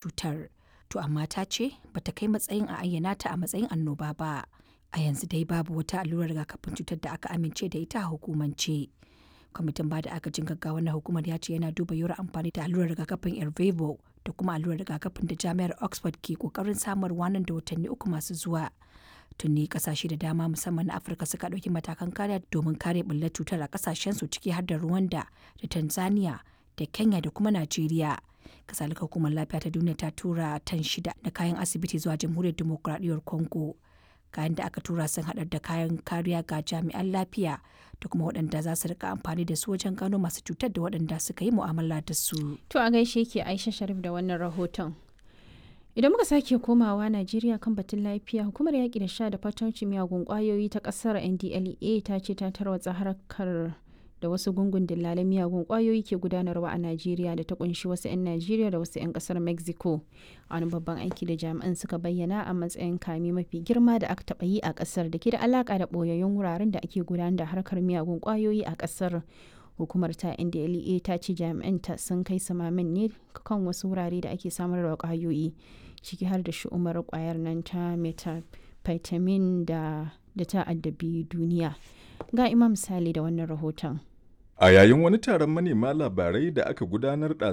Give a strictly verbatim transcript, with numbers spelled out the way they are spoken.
Cutar. To amma ta ce ba ta kai matsayin a ayyana ta a matsayin annoba ba. A yanzu dai babu wata allurar rigakafin cutar da aka amince da ita a hukumance. Kwamitin ba da agajin gaggawa na hukumar ya ce yana duba yiwuwar amfani da allurar rigakafin Ervebo da kuma allurar rigakafin da Jami'ar Oxford ke kokarin samarwa nan da watanni uku masu zuwa. Tuni kasashe da dama musamman na Afirka suka ɗauki matakan kariya domin kare ɓullar cutar a kasashensu, ciki har da Rwanda da Tanzania da Kenya da kuma Najeriya. Kasalika, Hukumar Lafiya ta Duniya ta tura tan shida na kayan asibiti zuwa Jamhuriyar Dimokuraɗiyyar Congo. Kayan da aka tura sun haɗar da kayan kariya ga jami'an lafiya da kuma waɗanda za su rika amfani da su wajen gano masu cutar da waɗanda suka yi mu'amala da su. To a gaishe ke Aisha Sharif da wannan rahoton. Idan muka sake komawa Najeriya kan batun lafiya, hukumar yaƙi da sha da fatauci miyagun ƙwayoyi ta ƙasar N D L E A ta ce ta tarwatsa harkar da wasu gungun dillalan miyagun ƙwayoyi ke gudanarwa a Najeriya da ta kunshi wasu 'yan Najeriya da wasu 'yan ƙasar Mexico. A wani babban aiki da jami'an suka bayyana a matsayin kame mafi girma da aka taɓa yi a ƙasar da ke da alaƙa da ɓoyayyun wuraren da ake gudanar da harkar miyagun ƙwayoyi a ƙasar. Hukumar ta N D L E A ta ce jami'an ta sun kai samamin ne kan wasu wurare da ake samar da kwayoyi, ciki har da shu'umar kwayar nan ta methamphetamine da da ta addabi duniya. Ga Imam Sale da wannan rahoton. A yayin wani taron manema labarai da aka gudanar